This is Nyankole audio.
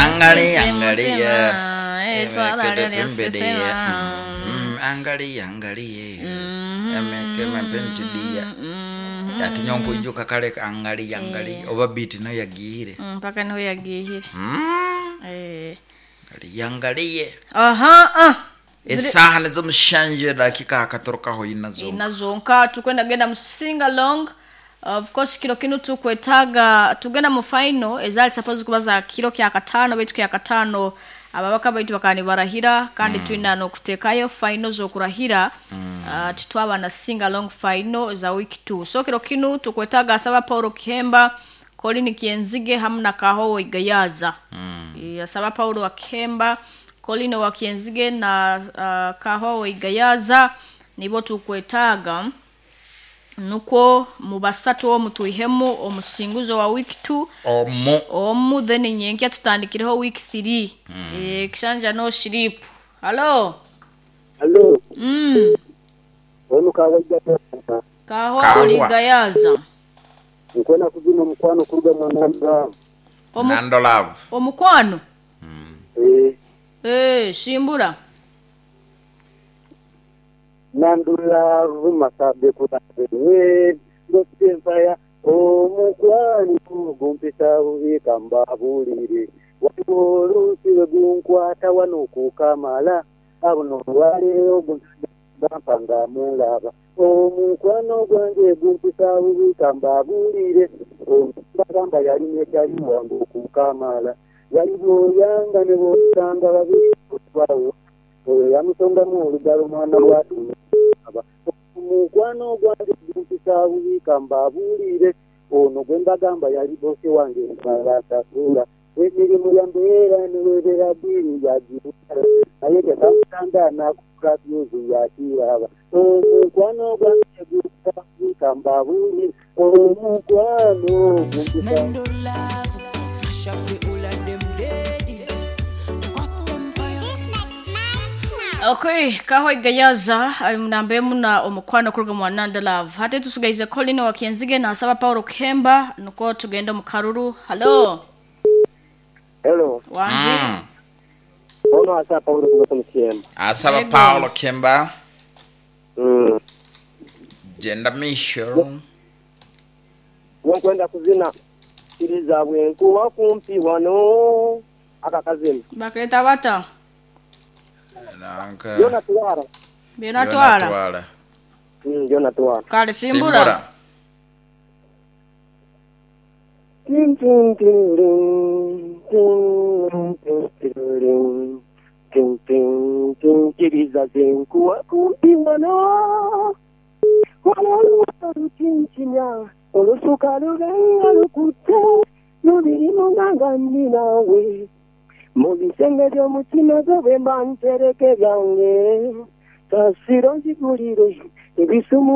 Angalia, Sente angalia. mutima, etwala lyo Embedeya. sisema. Angalia, angalia. Emekema pentidia. Ati nyonkunjuka kale angalia, angalia. Oba beat nayo yagiire. Mpaka niho yagihire. Eh. Angalia, angalia. Aha, ah. Esaaha nizo mushanje dakika akatorokaho inazo. Inazonka tukwenda genda mu sing along. Of course kiro kinu tukwetaga tugenda mu final ezali suppose kuba za kiro kya katano baitu kya katano ababaka baitu bakani barahira kandi twina no kutekayo final zokurahira. Titwaba na sing along final za week 2. So kiro kinu tukwetaga asaba Paulo Kihemba, Colin Kienzige hamwe na Kahowo Igayaza. Asaba Paulo wa Kihemba, Colin wa Kienzige na Kahowo Igayaza nibo tukwetaaga nukwo mu basatu omu twihemu omusinguzo wa week 2 Omu. omu then nyenkya tutandikireho week 3. Kishanja no sleep. Hello. Hello. Ono kawajja Kaho Kahwa. Igayaza. Nkwena kuzina omukwano kuruga mu Nando. Nando love. Omukwano. Eh, Shimbura. Nandula rumasabe kutabe. Ngosempaya omukwano gumpisa bubi kambabulire. Waliwo oluusi lwe gunkwata wano kukamala abo olwaleero gumpisa nga mulaba. Omukwano gwange gumpisa bubi kambabulire. Bagamba yali nekyali wange okukamala. Yali bw'oyanga ne bw'osanga babiri otwawo. Oyo yamusongamu olugalo mwana w'atuaba. Omukwano gwange gumpisa bubi kambabuulire. Ono gwe mbagamba yali bosi wange balasasula. Emirimu ya mbeera ne webeera bbiiri yagibutala. Naye tekamutanda n'akukola byuzi yakiraba. Omukwano gwange gumpisa bubi kambabuulire. Omukwano gumpisa Nando love, mash up the whole of them ladies. Cause empire. Okay, Kaho Igayaza ali munamba emu na omukwano kuruga mu Nanda Love. Hati tusugaize Colin wa Kienzige na asaba Paulo Kihemba nuko tugenda mu karuru. Hello. Hello. Wanje. Ono asa Paulo kutoka Mkiemba. Asaba Ego. Paulo Kemba. Genda misho. Nkwenda kuzina kiriza bwenkuba kumpi wano akakazina. Baketa bata. Nanka. Yona twara. Byona twala. Twala. Yona twara. Kale simbura. Tin tin tin tin tin tin tin tin tin tin kiriza zenkuba kumpi wano wano lukinkinya olusuka lulenga lukutte lubirimu nga nninawe mu bisenge by'omutima gwo bwe mba ntereke byange kasiro nzigulire ebisumu.